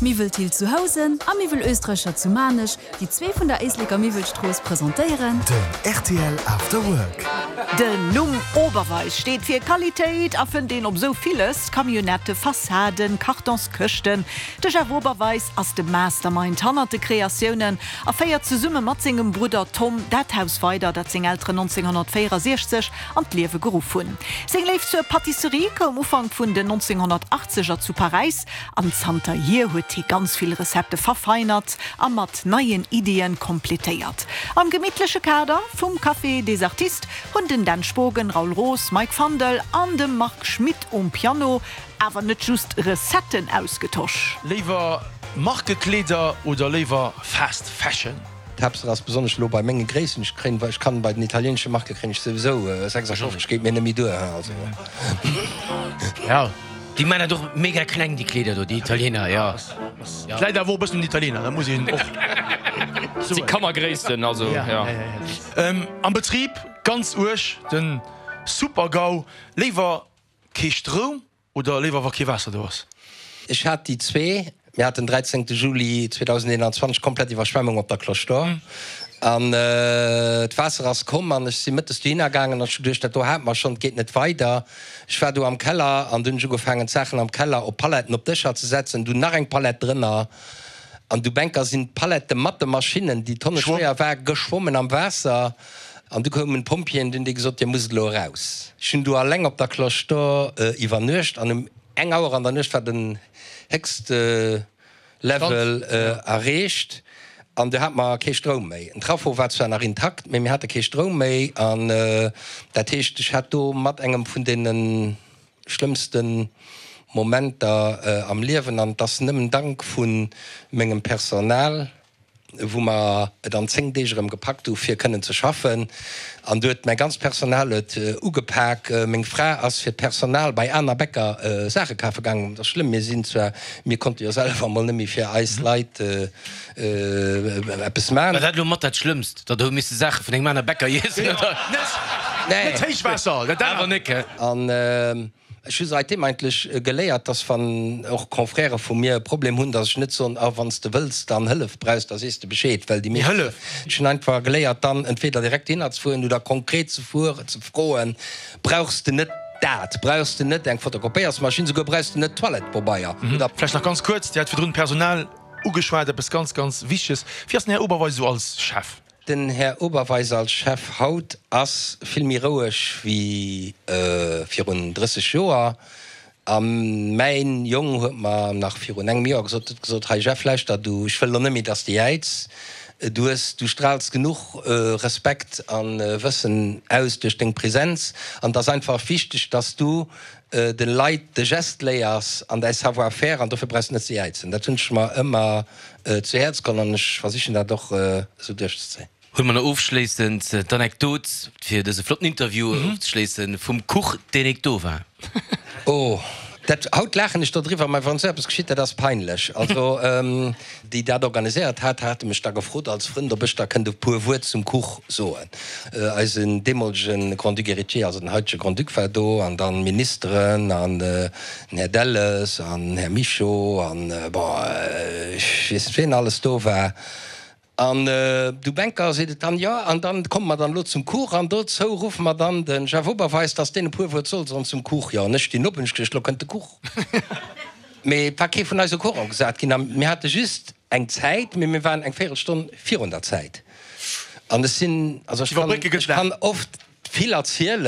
Miwwel Thill zu Housen a Miwwel Oestreicher zu Maarnech, déi zwee vun der Éisleker Miwwelstrooss, presentéieren. Den rtl After Work. Den Numm Oberweis steet fir Qualitéit a fënnt een op esou villes, Camionnette, Fassaden, Kartonskëschten. De Jeff Oberweis ass de Mastermind hannert de Kreatiounen a féiert zesumme mat sengem Brudder Tom dat Haus weider, dat seng Elteren 1964 an d'Liewe geruff hunn. Seng Léift zur Pâtisserie koum Ufank vun den 1980er zu Paräis An zanterhier huet hie ganz vill Recettë verfeinert a mat neien Iddien kompletéiert. Am gemittleche Kader vum Café des Artistes hunn den Dan Spogen, Raoul Roos, Mike Fandel an de Marc Schmitt um Piano awer net just Recetten ausgetosch. Léiwer Markekleeder oder léiwer Fast Fashion? D'Haaptsaach ass besonnesch elo bei menge Gréissten, ech kréien, ech kann bei den italieenesche Marke kréien ech souwisou 56, geet mir net méi duer, also. Ja, déi man dat och mega kleng déi Kleeder do, déi Italiener, jo. Et läit awer och e bëssen un den Italiener, dat muss een och soen. Si Kannergréissten, also jo. Am Betrib ganz uerg, den Super-GAU, léiwer kee Stroum Oder léiwer wa kee Waasser do ass? Ech hat déi zwee. Mir haten 13 Juli 2021 komplett Iwwerschwemmung op der Cloche d'Or an d'Waasser ass komm an ech si mëttes dohinner gaangen an ech hu geduecht, dat do hate mer schonn, et geet net weider. Ech war do am Keller an dunn hunn ech ugefaangen d'Saachen am Keller op Paletten op Dëscher ze setzen, dunn nach eng Palett drënner an du Bänker sinn d'Palette mat de Maschinnen, déi tonneschwéier war, geschwommen am Waasser. An du koumen d'Pompjeeën, dunn déi gesot, Dir musst elo eraus. Ech hunn do alleng op der Cloche d'Or iwwernuecht an um eng Auer an der Nuecht war den héchste Level erreecht an du hate mer kee Stroum méi. Den Trafo war zwar nach intakt, mee mir hate kee Stroum méi an dat heescht, ech hat do mat engem vun deene schlëmmste Momenter am Liewen an et ass nëmmen dank vu mengem Personal, wou mer et an 10 Deeg erëm gepackt hu fir kënnen ze schaffen. An du huet mäi ganzt Personal huet ugepak. Meng Fra ass fir d'Personal bei aner Bäcker Saache kafe gaangen. Dat ass schlëmm, mir sinn zwar, mir konnte jo selwer emol net méi fir eis Leit eppes man. War dat elo mat dat Schlëmmst, datt der hu misse Saache vun engem aner Bäcker iessen, oder? Net Héichwaasser, dat awer nek, he? An Ech hu seitdeem eigentlech geléiert, dass wann och Confrèrë vu mir e Problem hunn, dass ech net soen, ah wann s de wëlls dann Hëllef brauchs, da sees de Bescheed, well déi meescht. Hëllef! Ech hunn einfach geléiert dann entweder direkt dohinner ze fueren oder konkret ze fueren, ze froen, brauchs de net dat, brauchs de net eng Fotokopéiersmaschinn, souguer brauchs de net Toilettepobeier oder. Vläicht nach ganz kuerz, Dir hat virdrun d'Personal ugeschwat, eppes ganz, ganz Wichteges. Wéi ass den Här Oberweis esou als Chef? Den Här Oberweis als Chef haut ass vill méi roueg wéi virun 30 Joer. A mäin Jong huet mer nach virun engem Joer gesot, huet gesot, Hei Jeff, lauschter du, ech wëll elo net méi, dass de jäiz. Du hues, du straals genuch Respekt a Wëssen aus duerch deng Präsenz. An et ass einfach wichteg, dass du de Leit de Geste léiers an däi Savoir-faire, an dofir brauchs de net ze jäizen. Dat hunn ech mer ëmmer zu Häerz geholl an ech versichen dat och esou duerchzezéien. Huele mer nach ofschléissend d'Anekdot, fir dëse flotten Interview ofzeschléissen, vum Kuch, deen nik do war. Oh, dat, haut laachen ech dodriwwer, mä wann esou eppes geschitt, dat ass peinlech. Also, déi dat organiséiert hat, hate mech da gefrot als Frënd, ob ech da kënnt e puer Wuert zum Kuch soen. Eisen deemolege Grand-Duc héritier, also den haitege Grand-Duc war do, an dann Ministeren an den Här Delles an den Här Mischo an, bon, ech weess net wien alles do war. An du Bänker seet et dann, jo, an dann komme mer dann elo zum Kuch an dozou ruffe mer dann de Jeff Oberweis, dass deen e puer Wuert soll soen zum Kuch. Jo, an ech stinn op, hunn ech geduecht, elo kënnt de Kuch. Mee et war kee vun eis au courant gesat ginn a mir hate just eng Zäit, mee mir waren eng Véierelstonn virun der Zäit. An ech sinn, also ech kann, ech kann oft vill erzielen.